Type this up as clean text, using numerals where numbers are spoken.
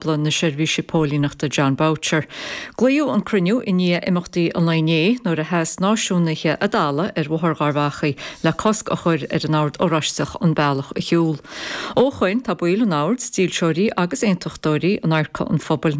Na Seirbhíse Póilíneachta Jon Boutcher. Glaodh an cruinniú i ndiaidh imeachtaí an lae inné nuair a sheas náisiúnaithe i dTallaght ar Bhóthar Gharbh Achaidh le cosc a chur ar an Ord Oráisteach an bealach a shiúl. Ó shoin tá baill an Oird, dílseoirí agus aontachtóirí in adharca an phobail.